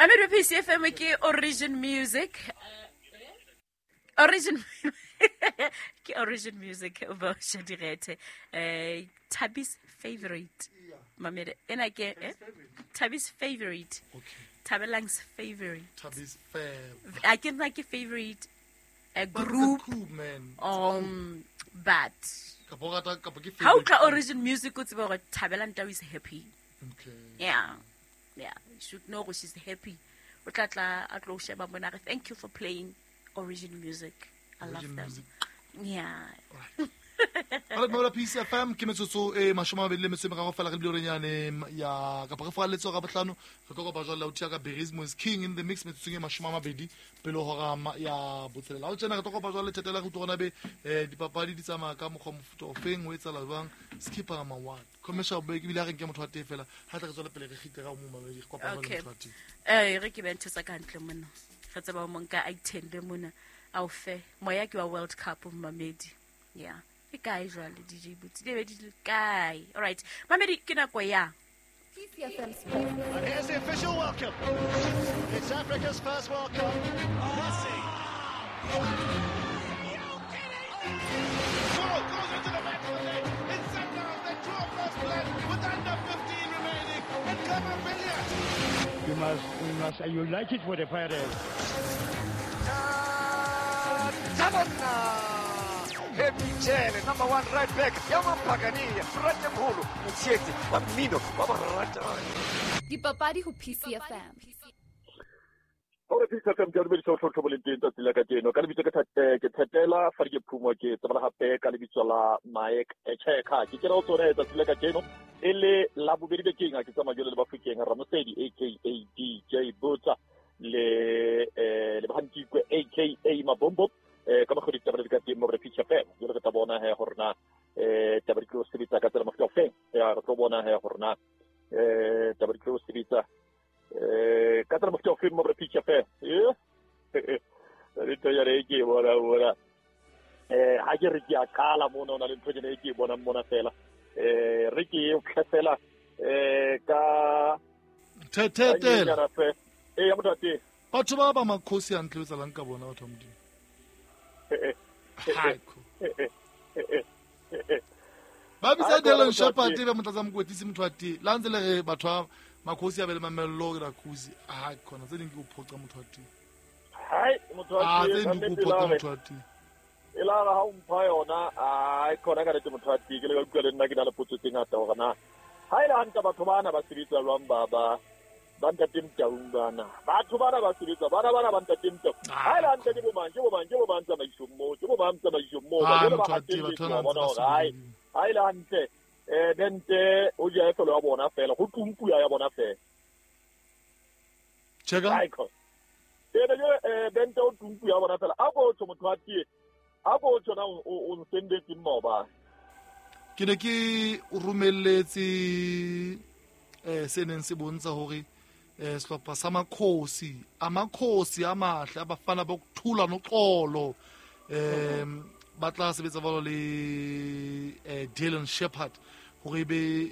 Mamedi PCFM ke Origin Music. Origin ke Origin Music ba Shadirethe. Thabi's favorite. Mamedi ena ke Thabi's favorite. Okay. Thabelang's favorite. Thabi's favorite. I can like a favorite a But it's a group cool, man. But Kapa o rata kapa ke how favorite ka group. Origin Music o tseba hore Thabelang Tau is happy. Okay. Yeah. Yeah, you should know she's happy. O tla tla a tlo sheba mona re thank you for playing Origin Music. I love Origin them. Music. Yeah. Alright, Mamola Peace FM ke metsotso e 23 fela re bile nyane ya kapa re falletse ga bohlano re tlo kopa jwale o thia ka Berismo is king in the mix metsotsong e 20 pele hora ya botshelela. O tsena re tlo kopa jwale thetela re utlwe gona be dipapadi di tsamaya ka mokgwa mofuta o feng o etsahala jwang skipper ma what commercial break ebile ha re nke motho wa teng fela ha tla re tswela pele re kgite ka mo mamedi re kopa jwale Okay. motho wa teng. Re ke be ntho tsa ka hantle mona. Re tseba o monka a ithende mona. A o fe moya ke wa World Cup mamedi. Yeah. Ke kae jwale DJ Boots? Di be di le kae? All right. Mamedi ke nako ya PCFM Sports. And here's the official welcome. It's Africa's first World Cup. Messi. Goal goes into the back of the net. It's Sundowns that draw first blood with under 15 remaining. And Clement Billiat. We must, you like it for the Pirates. Happy number 1 right back, Yamampagania, Ratemholo, Motshetsi, wa mmino, wa baratani. Dipapadi ho PCFM. Hore PCFM ke dumedisa ho tlhotlho boleng teng tsatsi la kajeno. Ka lebitso ke Thetela, fa ke Phumo ke tsebala hape ka lebitso la Mike Echeka. Ke kena ho tsona tsatsi la kajeno e le la bobedi bekeng a ke tsamaya jwale le Bafokeng Ramosedi aka DJ Botsa le le Bahantikwe aka Mabombo. Ka mokgwa ditaba di ka teng mo re PCFM. Jwale re tla bona he hore na taba di tlo sebetsa ka tsela mofuta ofeng. Ya re tlo bona he hore na taba di tlo sebetsa ka tsela mofuta ofeng mo re PCFM. Re tlo ya re ke bona bona. Ha ke re ke a qala mona ona le ntho ena e ke e bonang mona fela. Re ke e fela ka Thetela. Ya motho wa teng. Batho ba ba makhosi a ntle tsalang ka bona batho ba Modimo. Haiko. Ba bitsa Dylan Shepherd be motlatsa mokwetlisi motho wa teng. La ntse le re batho ba makhosi a be le mamello ke rakhusi. Ha khona tse ding ke o phoqa motho wa teng. Hai motho wa tse ding ke o phoqa motho wa teng. E la ha o mpha yona, ai khona ka lete motho wa teng ke le ka utlwa le nna ke na le potso tse ngata hore na ha ile hantle batho bana ba sebetsa jwang ba ba ntate Mtaung bana. Batho bana ba sebetsa bana bana ba ntate Mtaung. Ha ile hantle ke bo mang tsamaisong moo, ke bo mang tsamaisong moo. Ba ba hatelletswe bona hore hai ha ile hantle bente o ja efelo ya bona fela go tumpuya ya bona fela. Cheka. Ene bente o tumpuya ya bona fela. A go tho motho wa tie. A go tho na o nsendetse mmoba. Ke ne ke o romelletse se neng se bontsha hore sehlopha sa makhosi a makhosi a mahle a bafana ba kuthula noxolo ba tla sebetsa bolo le Dylan Shepherd hore be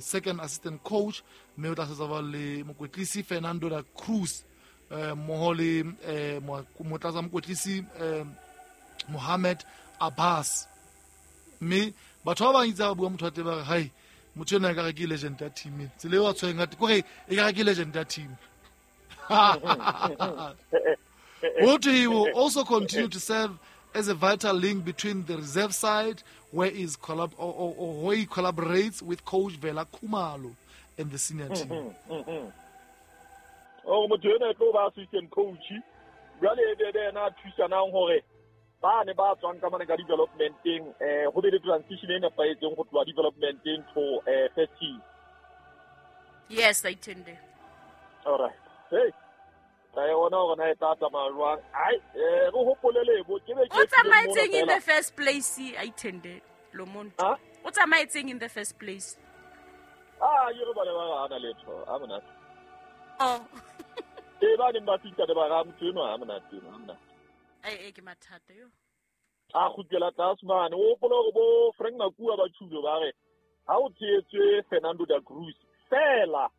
second assistant coach mme o tla sebetsa bolo le mokwetlisi Fernando da Cruz mmoho le motlatsa mokwetlisi Mohamed Abbas. Mme batho ba bang itse ba bua motho wa teng ba re hai motho ena ekare ke legend ya team tsela eo a tshwereng ka kore ekare ke legend ya team. He will also continue to serve as a vital link between the reserve side where is where he collaborates with coach Vela Khumalo and the senior team. Oh motho ena e tlo ba assistant coach jwale e be ena a thusanang hore ba ne ba tswang ka mane ka developmenteng ho be le transition e nepahetseng go tloha developmenteng to first team. Yes, I tend. All right. Hey. Tla e bona hore na e tla tsamaya jwang. Ai, re hopole lebo ke be ke O tsamaetseng in the first place, I tend. Lo monto. O tsamaetseng in the first place. Ah, ye re bana ba ana letho, a monate. Oh. E ba neng ba fihla le ba ra motho enwa a monate, a monate. Ai ke mathata yo. A kgutlela tlase mane, o hopola hore bo Frank Makua ba tjhulo ba re ha o tshehetswe Fernando da Cruz fela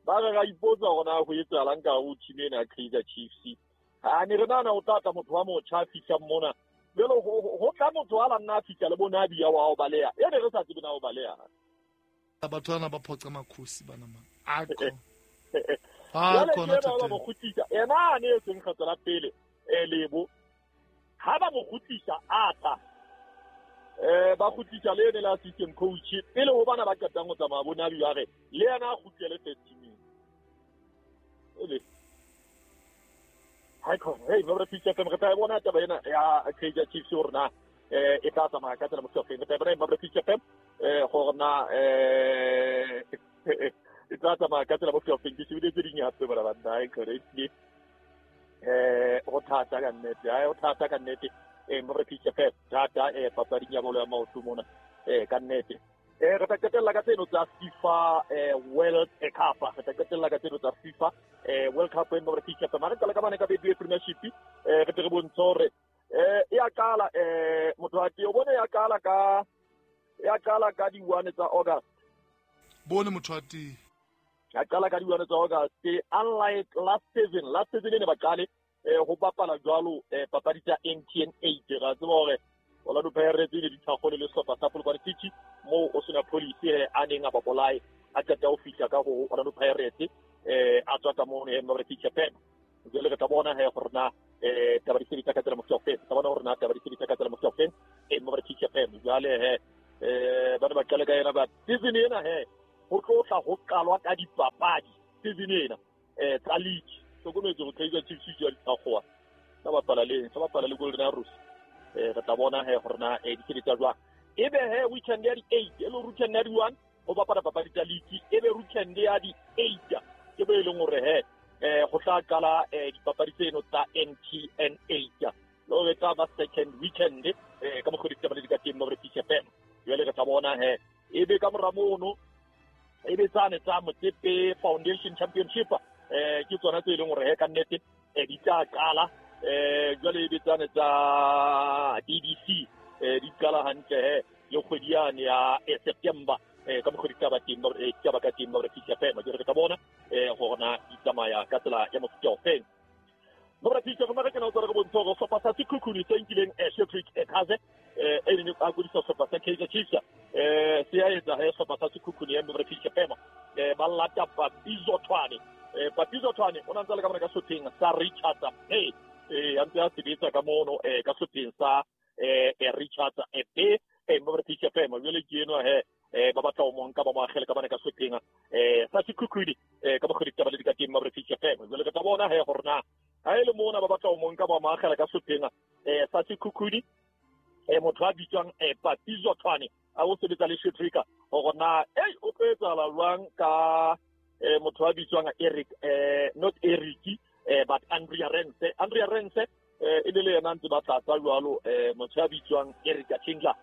Ba re ra ipotsa hore na ho etsahalang ka ho team ena ya Kaizer Chiefs. A ne re nahana ho tla tla motho wa motjha a fihlang mona. Jwale ho tla motho a la nna a fihla le bo Nabi ya wa ho baleha. E ne re sa tsebe na ho baleha. Batho bana ba phoqa makhosi bana man. Akho. Jwale ke ena ba mo kgutlisa. Ena a ne e seng kgetlo la pele Lebo. Ha ba mo kgutlisa a tla. Ba kgutlisa le ene le assistant coach pele ho bana ba qetang ho tsamaya bo Nabi ba re le yena a kgutlele first teaming. Ele. Hai khona, hey, Mabra Peach FM re tla e bona taba ena ya Kaizer Chiefs hore na e tla tsamaya ka tsela mofuta ofeng. Re tla e bona Mabra Peach FM gore na e tla tsamaya ka tsela mofuta ofeng. Ke shebile tse ding hape bona banna, hai khona ehlile ho thata ka nnete, hai ho thata ka nnete. Mabra Peach FM thata papading ya bolo ya maoto mona ka nnete. Re tla qetella ka tseno tsa FIFA World Cup. Re tla qetella ka tseno tsa FIFA World Cup e Mabra Peach FM. Re qala ka bane ka Betway Premiership re tle re bontshe hore e a qala motho wa teng o bone ya qala ka di 1 tsa August. Bone motho wa teng. Ya qala ka di 1 tsa August unlike last season e ne ba qale ho bapala jwalo papadi tsa MTN 8. Ra tseba hore Orlando Pirates le dithakgolo le sehlopha sa Polokwane City moo o sena police a neng a ba bolae a qeta ho fihla ka ho Orlando Pirates a tswa ka mono Mabra Peach FM. Jwale re tla bona he gore na taba di sebetsa ka tsela mofuta ofeng. Tla bona hore na taba di sebetsa ka tsela mofuta ofeng Mabra Peach FM. Jwale he ba ne ba qale ka yena ba season ena he ho tlo tla ho qalwa ka dipapadi season ena tsa league. Hlokometse hore Kaizer Chiefs e jwa dithakgowa tsa bapala le Golden Arrows. Re tla bona he gore na di sebetsa jwang. Ebe he weekend ya di 8 e le weekend ya di 1 ho bapala papadi tsa league, ebe weekend ya di 8 ke bo e leng hore he go tla qala dipapadi tseno tsa MTN 8 le hore tla ba second weekend ka mokgwa ditaba le di ka teng Mabra Peach FM. Jwale re tla bona he ebe ka mora mono ebe tsane tsa Motsepe Foundation Championship ke tsona tse e leng hore he ka nnete di tla qala jwale ebe tsane tsa DDC di qala hantle he le kgwedi yane ya September ka mokgwa ditaba teng ditaba ka teng Mabra Peach FM. Jwale re tla bona gore na di tsamaya ka tsela ya mofuta ofeng. Mabra Peach FM re kena ho tswa re bontsha hore sehlopha sa Sekhukhune se nkileng Shadrack Ekaze e neng a kodisa sehlopha sa Kaizer Chiefs se a etsa he sehlopha sa Sekhukhune ya Mabra Peach FM ba lata Papizo Thwane. Papizo Thwane o na ntse le ka mona ka sehlopheng sa Richards Bay a ntse a sebetsa ka mono ka sehlopheng sa Richards Bay Mabra Peach FM. Jwale ke enwa he ba batla ho mo nka ba mo akgele ka bana ka sehlopheng sa Sekhukhune ka mokgwa ditaba le di ka teng Mabra Peach FM. Jwale re tla bona he gore na ha e le mona ba batla ho mo nka ba mo akgela ka sehlopheng sa Sekhukhune motho a bitswang Papizo Thwane a o sebetsa le Shadrack hore na o tlo etsahala jwang ka motho a bitswang Eric not Eric but Andrea Rense. Andrea Rense e ne le yena ntse ba tlatsa jwalo motho a bitswang Eric Chandler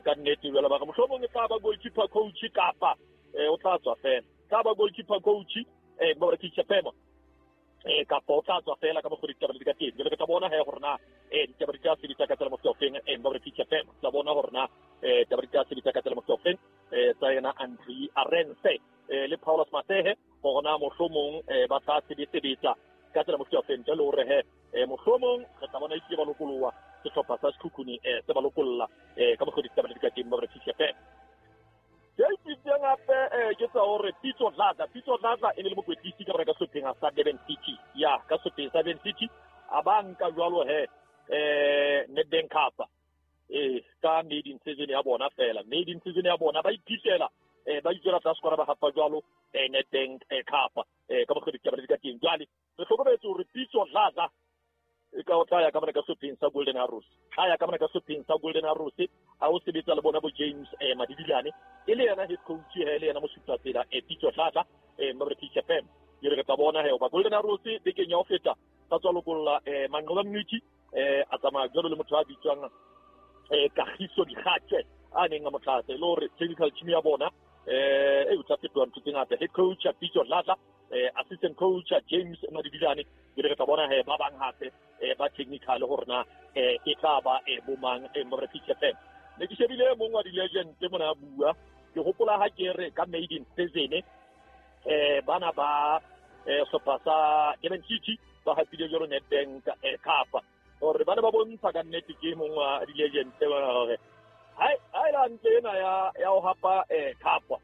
ka nnete jwale ba re mohlomong e tla ba goalkeeper coach kapa o tla tswa fela tla ba goalkeeper coach Mabra Peach FM kapa o tla tswa fela ka mokgwa ditaba di ka teng. Jwale re tla bona he gore na ditaba di tla sebetsa ka tsela mofuta ofeng Mabra Peach FM. Tla bona gore na ditaba di tla sebetsa ka tsela mofuta ofeng tsa yena Andre Arense le Paulus Masehe gore na mohlomong ba tla sebetsa ka tsela mofuta ofeng. Jwale hore he mohlomong re tla bona e ba lokoloha sehlopha sa Sekhukhune se ba lokolla ka mokgwa ditaba di ka teng Mabra Peach FM. Ke itseng hape ke tsa hore Pitso Dladla e ne le mokwetlisi ka ka sehlopheng sa Durban City. Ya ka sehlopheng sa Durban City a ba nka jwalo he Nedbank Cup ka maiden season ya bona fela. Maiden season ya bona ba iphihlela ba itswela tlase kwana ba hapa jwalo Nedbank Cup ka mokgwa ditaba di ka teng. Jwale re hlokometse hore Pitso Dladla e ka o tla ya ka mona ka sehlopheng sa Golden Arrows. Tla ya ka mona ka sehlopheng sa Golden Arrows a o sebetsa le bona bo James Madibilane e le yena head coach he le yena mosupatsela Pitso Dladla Mabra Peach FM. Ke re tla bona he ba Golden Arrows bekeng ya ho feta ba tswa lokolla Manqoba Mngqithi a tsamaya jwalo le motho a bitswang Kagiso Dikgatse a neng a mo tlatsa e le hore technical team ya bona e o tla fetoha ntho tse ngata. Head coach Pitso Dladla assistant coach James Madibilane ke re tla bona he ba bang hape ba technical hore na e tla ba bomang Mabra Peach FM. Ne ke shebile mong wa di-legend mona a bua ke hopola ha ke re ka maiden season bana ba sehlopha sa Durban City ba hapile jwalo Nedbank Cup hore bana ba bontsha ka nnete ke mong wa di-legend tse bona hore ha e le hantle ena ya ho hapa cup.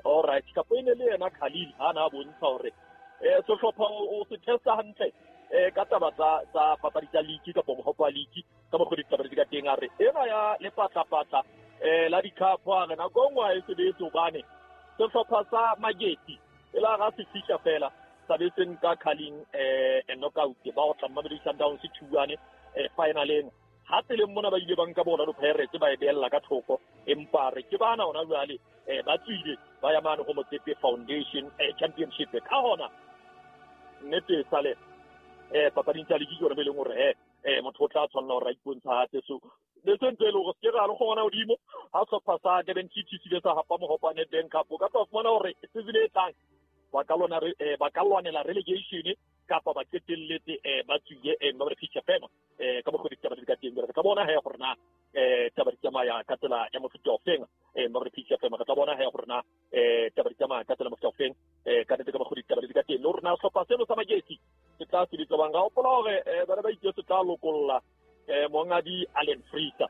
All right, kapo e ne le yena Khalil ha na bontsha hore sehlopha o se testa hantle ka taba tsa papadi tsa league kapa mohopo wa league ka mokgwa ditaba di ka teng. A re ena ya lepatlapatla la di-cup a re nako e nngwe ha e sebetse hobane sehlopha sa Magesi e la ga se fihla fela sa be se nka Carling knockout ba otla Mamelodi Sundowns 2-1 finaleng. Ha tseleng mona ba ile ba nka bona Pirates ba e beella ka thoko, empa re ke bana hona jwale ba tswile ba ya mane ho Motsepe Foundation Championship. Ka hona nnete sale papading tsa league ke yona be leng hore motho o tla tshwanela hore a ipontshahatse. So le se ntse e le hore se ke ra le kgona hodimo ha sehlopha sa Durban City se ile sa hapa mohopo wa Nedbank Cup, o ka tla fumana hore season e tlang ba ka lwanela relegation kapa ba qetelletse ba tswile ba re feature fema ka mokgwa ditaba di ka teng. Re tla bona he gore na taba di tsamaya ka tsela ya mofuta ofeng, ba re feature fema. Re tla bona he gore na taba di tsamaya ka tsela mofuta ofeng, ka nnete ka mokgwa ditaba di ka teng. Le gore na sehlopha seno sa Magesi se tla sebetsa bang. Ga hopola hore bana ba itse se tla lokolla mongadi Allen Freezer.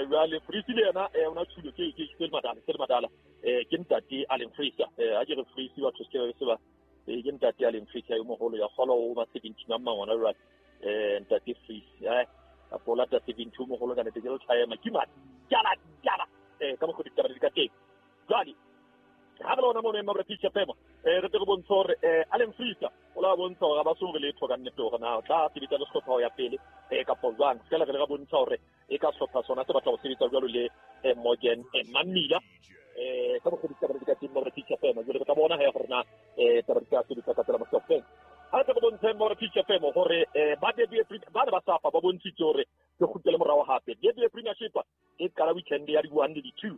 Jwale Freezer le yena o na tshulo ke madala ke ntate Allen Freezer. Ha ke re Freezer batho se ba ke ntate Allen Freezer yo moholo ya kgolo o ba 17 a mangwana jwale ntate Freezer kapo lata 72 moholo ka nnete ke le tshwaema ke jala ka mokgwa ditaba di ka teng. Jwale ha re lona mono Mabra Feature Fema re tle re bontshe hore Allen Freezer o la bontsha hore ba so re letho ka nnete hore na o tla sebetsa le sehlopha ho ya pele kapa jwang. Fela re le ra bontsha hore e ka sehlopha sona se batla ho sebetsa jwalo le Morgan Mamila ka mokgwa ditaba di ka teng Mabra Feature Fema. Jwale re tla bona he gore na taba di ka sebetsa ka tsela mofuta ofeng. Ha re tle re bontshe Mabra Feature Fema hore ba ba ne ba safa ba bontshitse hore ke kgutlele morao hape. DBA Premiership e qala weekend ya di-1 le di-2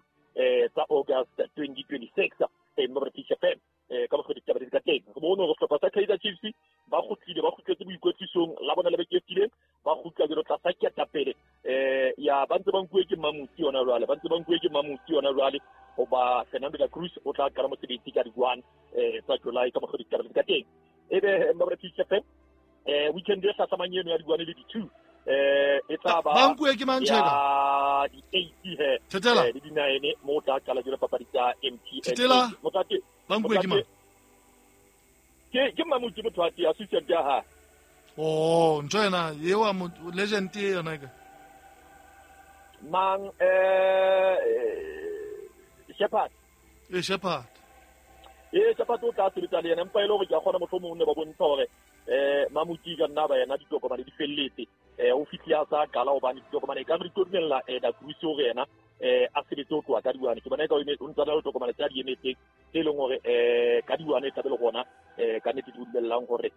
tsa August 2026 Mabra Feature Fema ka mokgwa ditaba di ka teng. Re bone hore sehlopha sa Kaizer Chiefs ba kgutletse boikwetlisong la bona le beke e fetileng, ba kgutla jwalo tlasa ketapele ya ba ntse ba nkuwe ke Mamusi yona jwale, hoba Fernando da Cruz o tla qala mosebetsi ka di-1 tsa July ka mokgwa ditaba di ka teng. Ebe Mabra Feature Fema weekend e hlahlamang eno ya di-1 le di-2 e tla ba ba nkuwe ke mang tjheka di-8 he le di-9 mo tla qala jwalo papadi tsa MTN. Thethela ba nkuwe ke mang? Ke Mamuti motho wa teng assistant ya hae. Oh, ntho ena eo legend e yona ka mang Shepherd. Shepherd. Shepherd o tla sebetsa le yena, empa e le hore ke a kgona mohlomong ne ba bontsha hore Mamuti ka nna ba yena ditokomane di felletse. O fihlile a sa qala hobane ditokomane e ka re di tlo dumella da Cruz hore yena a sebetse ho tloha ka di-1. Ke bona eka o ntse a na le tokomane tse a di emetseng tse leng hore ka di-1 e tlabe le gona ka nnete di dumellang hore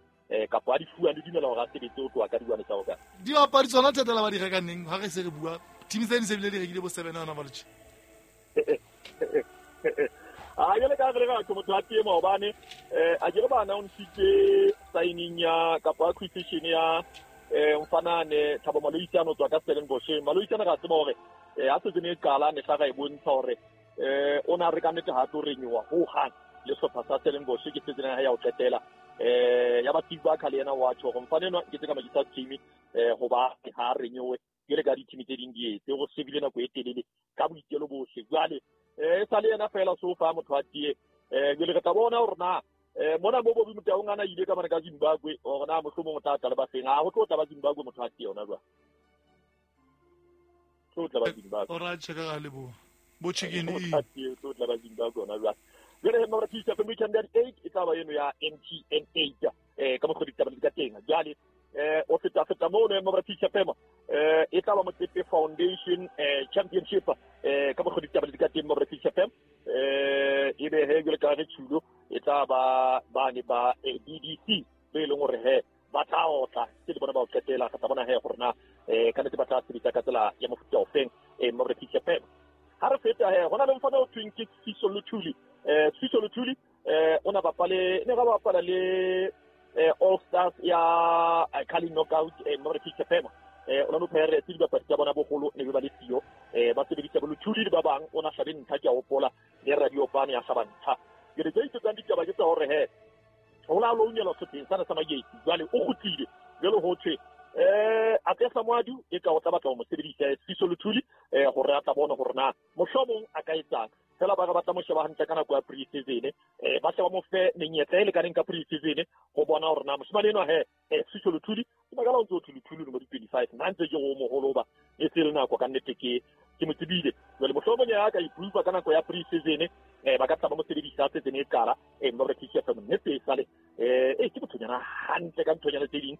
kapa a di fuwang di dumela hore a sebetse ho tloha ka di-1 tsa August. Dibapadi tsona Thethela ba di reka neng? Ha re se re bua team tse di se bile di rekile bo 7 hona jwale. A jwale ka re re motho a teng hobane a ke re ba announce-itse signing ya kapa acquisition ya mfanane Thabo Maloisane o tswa ka Stellenbosch. Maloisane ra tseba hore ha season e qala ne tla ra e bontsha hore o na re ka nnete ha tlo renyowa ho hang le sehlopha sa Stellenbosch ke season ya ho qetela. Ya ba Steve Barker le yena wa tjho hore mfane enwa ke tse ka makisa team hoba ha renyowe ke le ka di-team tse ding di etse go sebile nako e telele ka boitelo bohle. Jwale e sa le yena fela so fa motho a tie. Jwale re tla bona hore na mona mo Bobby Motaung ana ile ka mane ka Zimbabwe hore na mohlomong o tla tla le ba feng. Ha ho tlo tla ba Zimbabwe motho a tie yona jwale. Tlo tla ba Zimbabwe. O ra tjheka ka leboha. Bo chicken e. Tlo tla ba Zimbabwe yona jwale. Jwale he Mabra Feature Fema weekend ya di-8 e tla ba eno ya MTN 8 ka mokgwa ditaba di ka teng. Jwale o feta mono Mabra Feature Fema e tla ba Motsepe Foundation Championship ka mokgwa ditaba di ka teng Mabra Feature Fema. Ebe he jwale ka re tshulo e tla ba bane ba DDC be leng hore he ba tla otla ke le bona ba o qetela. Re tla bona he gore na ka nnete ba tla sebetsa ka tsela ya mofuta ofeng Mabra Feature Fema. Ha re feta he hona le mfana o thweng ke Siso Luthuli. Siso Luthuli o na bapale ne ga bapala le All Stars ya Carling Knockout Mabra Feature Fema. Orlando Pirates dibapadi tsa bona boholo ne ba le siyo, ba sebedisa bo Luthuli le ba bang. O na hlabe ntlha ke a hopola le Radio Pane ya hlaba ntlha. Ke re tse itsetsang ditaba ke tsa hore he ho la lounelwa sehlopheng sana sa Magesi jwale o kgutlile jwale ho thwe a tla Moadu e ka o tla batla ho mo sebedisa Siso Luthuli hore a tla bona hore na mohlomong a ka etsang fela ba batla mo sheba hantle ka nako ya pre-season ba sheba mo fe menyetla e lekaneng ka pre-season ho bona hore na moshemane enwa he Siso Luthuli ke makala o ntse o thwe Luthuli no di 25 nna ntse ke go moholo ba e se le nako ka nnete ke mo tsebile jwale mohlomong ya ka ipupa ka nako ya pre-season ba ka tla ba mo sebedisa season e qala mo re tshisa fa nnete e sale ke bothonyana hantle ka nthonyana tse ding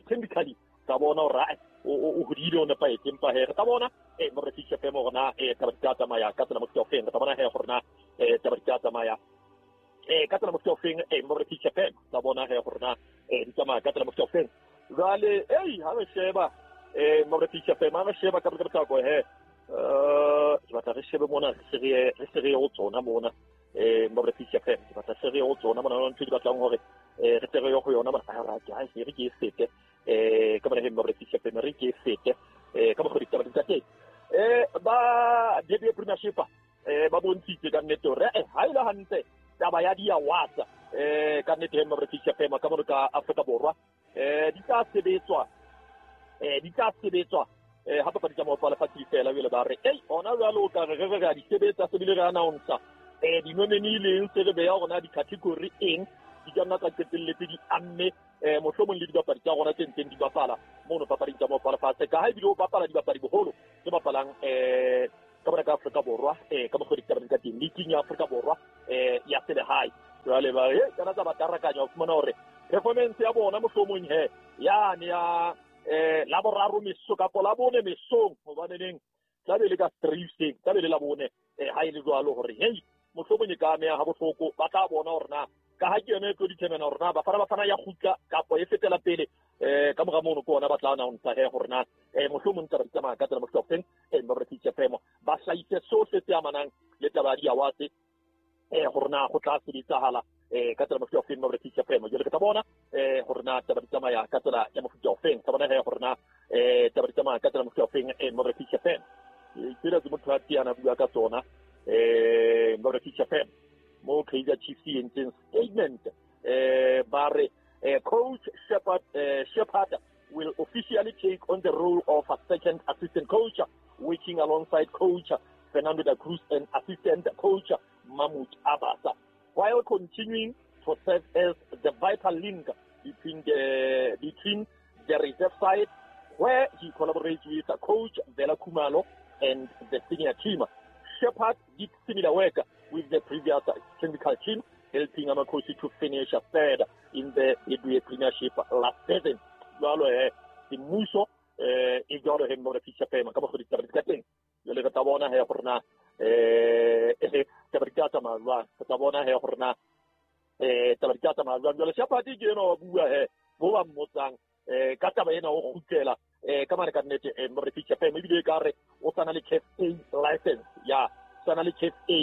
chemically ka bona hore o hodile o nepahetse empa he re tla bona mo re tshisa fa mo rona taba di tla tsamaya ka tsela mofuta ofeng re tla bona he gore na taba di tla tsamaya ka tsela mofuta ofeng mo re tshisa fa tla bona he gore na di tsamaya ka tsela mofuta ofeng jwale ha re sheba mo re tshisa fa ma re sheba ka botlako he ke batla re shebe mona re se re ho tsona mona mo re tshisa fa ke batla se re ho tsona mona ntho di batlang hore re tle re yo go yona ba ra ke ha se re ke sete ka bona he mo re tshisa fa re ke sete ka mo go ditaba di tsa teng ba DB Premiership ba bontshitse ka nnete hore ha ile hantle taba ya di awards ka nnete he mo re tshisa fa ka mo ka Afrika Borwa di tla sebetswa ha papadi tsa maoto a lefatshe di fela jwale ba re ei ona jwale o ka re re re a di sebetsa se bile re announce di-nominee leng se re beya rona di-category eng di ka nna tsa qetelletse di amme mohlomong le dibapadi tsa rona tse ntseng di bapala mono papading tsa maoto a lefatshe ka ha ebile o bapala dibapadi boholo tse bapalang ka bona ka Afrika Borwa ka mokgwa ditaba di ka teng leaking ya Afrika Borwa ya selehae jwale ba re kana tsa ba tarakanya ho fumana hore performance ya bona mohlomong he yane ya la boraro meso kapa la bone mesong hobane neng tla be le ka 3 hoseng tla be le la bone ha e le jwalo hore hey mohlomong e ka ameha ha bohloko ba tla bona hore na ka ha ke yona e tlo determine hore na Bafana Bafana ya kgutla kapa e fetela pele ka mora mono ke ona ba tla announce he hore na mohlomong taba di tsamaya ka tsela mofuta ofeng ba re fitse femo ba hlahise sohle se amanang le taba ya di-awards gore na go tla sebetsahala ka tsela mofuta ofeng ba re fitse femo jwale ke tla bona gore na taba di tsamaya ka tsela ya mofuta ofeng tla bona he gore na taba di tsamaya ka tsela mofuta ofeng ba re fitse femo tsela tse motho a tiana bua ka tsona ba re fitse femo mo Kaizer Chiefs e entseng statement ba re coach Shepherd will officially take on the role of a second assistant coach, working alongside coach Fernando da Cruz and assistant coach Mahmoud Abbas, while continuing to serve as the vital link between the reserve side, where he collaborates with coach Vela Kumalo and the senior team. Shepherd did similar work with the previous technical team, helping Amakhosi to finish third in the Betway Premiership last season. Jwalo he semmuso e jwalo he mo re fihla fema ka mokgwa ditaba di ka teng jwale re tla bona he gore na taba di tla tsamaya jwang re tla bona he gore na taba di tla tsamaya jwang jwale Shepherd ke ena wa bua he bo ba mmotsang ka taba ena o kgutlela ka mane ka nnete mo re fihla fema ebile ka re o sana le CAF A license ya sana le CAF A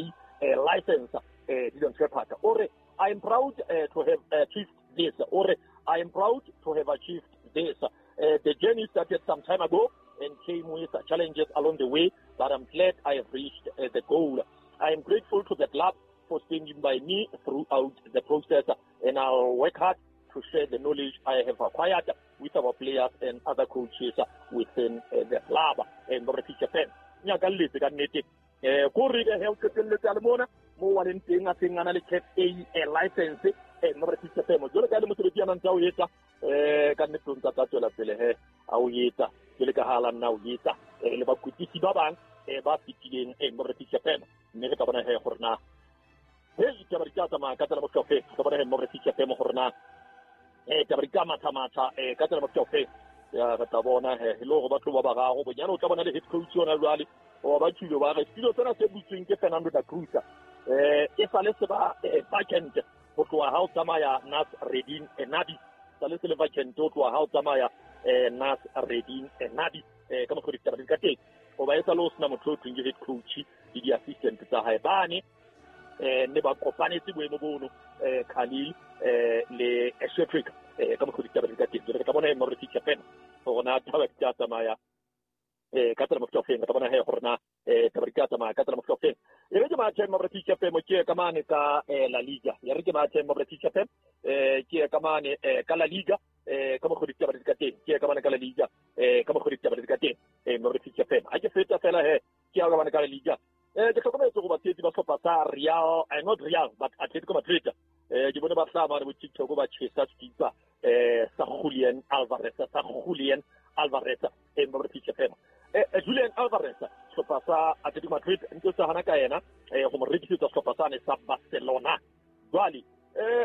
license Dillon Shepherd o re I am proud to have achieved this. Or I am proud to have achieved this. The journey started some time ago and came with challenges along the way, but I'm glad I have reached the goal. I am grateful to the club for standing by me throughout the process, and I'll work hard to share the knowledge I have acquired with our players and other coaches within the club. And mo wa leng teng a seng a na le CAF A license mo re fitse femo jwale ka le mosebetsi a nang tsa o etsa ka nnete o ntse tla tswela pele he a o etsa jwale ka ha la nna o etsa le bakwetlisi ba bang ba fetileng mo re fitse femo mme re tla bona he gore na he ditaba di tla tsamaya ka tsela mofuta ofe tla bona he mo re fitse femo gore na taba di tla matha-matha ka tsela mofuta ofe ya re tla bona he le hore ba tlo ba bararo bonyane o tla bona le head coach yona jwale wa ba tshilo ba re setilo sena se butsweng ke Fernando da Cruz e sale se ba vacant ho tloha ha o tsamaya Nas Redin Nabi sale se le vacant ho tloha ha o tsamaya Nas Redin Nabi ka mokgwa ditaba di ka teng hoba e sale o sena motho o thweng ke head coach le di-assistant tsa hae bane ne ba kopanetse boemo bono Khalil le Shepherd ka mokgwa ditaba di ka teng jwale re tla bona he mo re fihla fela hore na taba di tla tsamaya ka tsela mofuta ofeng re tla bona he gore na taba di tla tsamaya ka tsela mofuta ofeng e re ke mathe mathe mo re TFM ke ka mane ka La Liga. Ya re ke mathe mo re TFM ke ka mane ka La Liga ka mo go ditaba di ka teng. Ke ka mane ka La Liga ka mo go ditaba di ka teng mo re TFM. A ke feta fela he ke ya ka mane ka La Liga. Ke hlokometse go batshetsi ba sehlopha sa Real, not Real but Atletico Madrid. Ke bone ba tla mane bo TikTok ba chesa skipa sa Julian Alvarez, sa Julian Alvarez mo re TFM. Julian Alvarez sehlopha sa Atletico Madrid ntse sa hana ka yena go mo rekisetsa sehlopha sane sa Barcelona. Jwale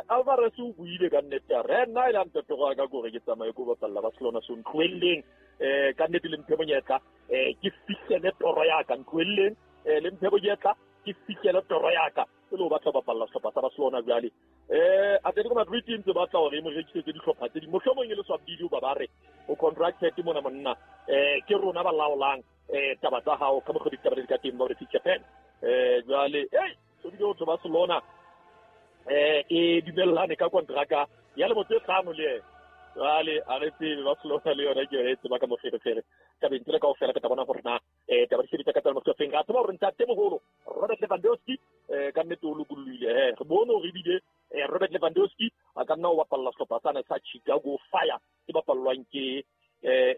Alvarez o buile ka nnete a re nna ile a ntatoga ka gore ke tsamaye ko bapalla Barcelona so ntlohelleng ka nnete le mphe monyetla ke fihlele toro ya ka, ntlohelleng le mphe monyetla ke fihlele toro ya ka e le ho batla bapalla sehlopha sa Barcelona. Jwale Atletico Madrid ntse batla hore e mo rekisetse dihlopha tse ding, mohlomong e le swabidi ba ba re o contracted mona monna ke rona ba laolang taba tsa hao ka mokgwa ditaba di ka teng ba re TFM. Jwale so bile ho thwe Barcelona e dumellane ka kontraka ya lemo tse 5 le yena. Jwale a re tsebe Barcelona le yona ke yona e tseba ka moferefere tabeng tsena kaofela. Re tla bona hore na taba di sebetsa ka tsela mokgwa ofeng. Ra tseba hore ntatemoholo Robert Lewandowski ka nnete o lokolohile. Re bone hore ebile Robert Lewandowski a ka nna o bapalla sehlopha sane sa Chicago Fire se bapallwang ke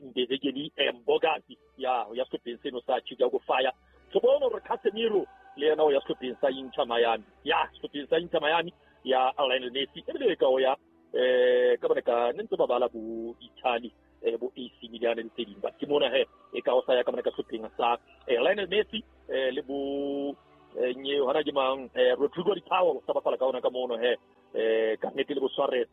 Ndezekeli Mbogazi ya sehlopheng seno sa Chicago Fire. Re bone hore Casemiro le yena o ya sehlopheng sa Inter Miami, ya sehlopheng sa Inter Miami ya Lionel Messi ebile ka o ya ka bone ka ne ntse ba bala bo Italy bo AC Milan le tse ding, but ke mona he e ka o sa ya ka bone ka sehlopheng sa Lionel Messi le bo nye hona ke mang Rodrigo Di Paolo sa bapala ka ona ka mono he ka nnete le bo Suarez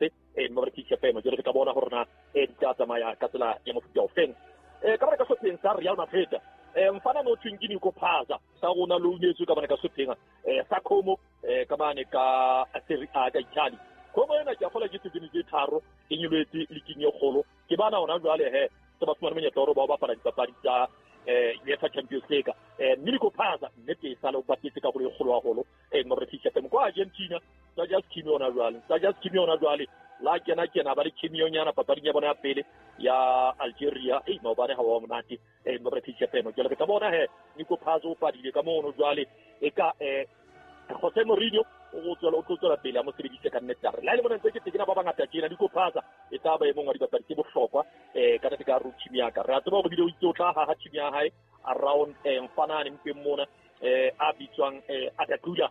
mo re TFM. Jwale re ka bona hore na di tla tsamaya ka tsela ya mofuta ofeng. Ka bone ka sehlopheng sa Real Madrid mfana no thweng ke Nico Paz sa rona lo unyetswe ka bone ka sehlopheng sa Como ka mane ka Serie A ka Italy. Como ena ke a fola ke season tse 3 e nyoletse leaking e kgolo. Ke bana hona jwale he se ba fumana monyetla hore ba bapala dipapadi tsa UEFA Champions League. Nico Paz nnete e sale o bapetse karolo e kgolo haholo mo re TFM kwa Argentina. Tsa just kimi ona jwale, tsa just kimi ona jwale la kena ba le kimionyana papading ya bona ya pele ya Algeria. Maobane ha wa monate mo re TFM. Jwale re ka bona he Nico Paz o padile ka mono jwale e ka Jose Mourinho o tswela pele a mo sebedise ka nnete. Re la le bona ntse ke tekena ba bangata tjena Nico Paz e tla ba e mong wa dibapadi tse bohlokwa ka nnete ka ro team ya ka. Re a tseba hore bile o itse o tla haha team ya hae around mfanane mpeng mona a bitswang Adakula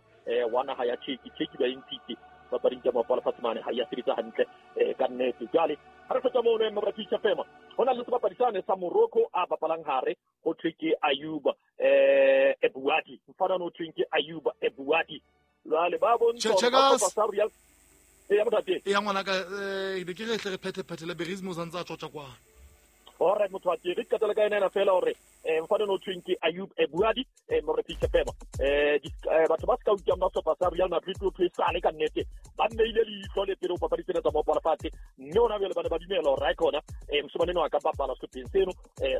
wa naha ya Turkey. Turkey ba ntshitse papading tsa maoto a lefatshe mane ha ya sebetsa hantle ka nnete. Jwale ha re fetsa mono mo re TFM ho na le sebapadi sane sa Morocco a bapalang hare ho thwe ke Ayuba Ebuadi. Mfana no thweng ke Ayuba Ebuadi. Jwale ba bontsha sa Real ya motate ya ngwana ka ke re tle re phethe le Berismo santse a tjotja kwa. Alright motho wa ke re qetela ka ena fela hore mfana no thweng ke Ayub Ebuadi mo re TFM. Batho ba ska utlwang ba sehlopha sa Real Madrid o thwe sale ka nnete ba nneile leihlo le pele ho papadi tsena tsa maoto a lefatshe, mme hona jwale ba ne ba dumela hore ha khona moshemane enwa a ka bapala sehlopheng seno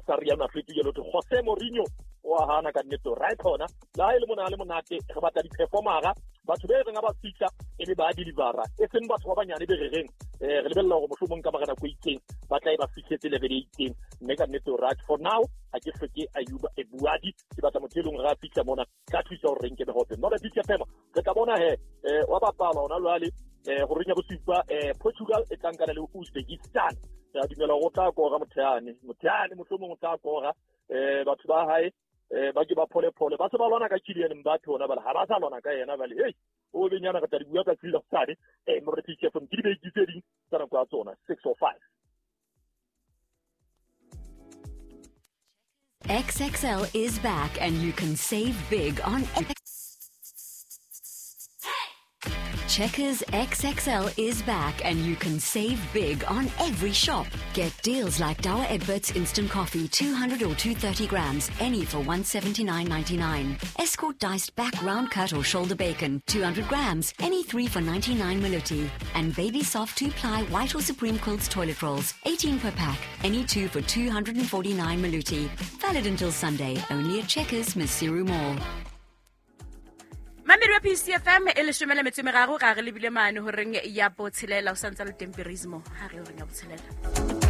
sa Real Madrid. Jwale ho thwe Jose Mourinho o a hana ka nnete hore ha khona le ha e le mona le monate re batla di-performera batho be reng ha ba fihla e be ba delivera, e seng batho ba banyane be re reng re lebella hore mohlomong ka mora nako e itseng ba tla e ba fihletse level e itseng. Mme ka nnete hore for now ha ke hloke Ayuba Ebuadi, ke batla motho e leng hore a fihla mona tla thusa hore re nke mehope. Mo re TFM re tla bona he wa bapala hona jwale horeng ya bosupa Portugal e tla nkana le Uzbekistan. Re a dumela hore o tla kora motheane mohlomong o tla kora batho ba hae ba ke ba phole ba se ba lwana ka Kylian Mbappe hona bale ha ba sa lwana ka yena bale hey o benyana ka tla di bua ka tsela tsane mo re TFM ke dibeke tse ding tsa nako ya tsona 6:05. XXL is back and you can save big on Checkers XXL is back and you can save big on every shop. Get deals like Douwe Egberts Instant Coffee, 200 or 230 grams, any for 179.99. Escort diced back round cut or shoulder bacon, 200 grams, any 3 for 99 Maluti. And Baby Soft 2-ply white or Supreme Quilts toilet rolls, 18 per pack, any 2 for 249 Maluti. Valid until Sunday, only at Checkers, Maseru Mall. Mamedi wa PCFM e leshome le metso e meraro, ra re lebile mane horeng ya botshelela, o santse le temperismo ha re horeng ya botshelela.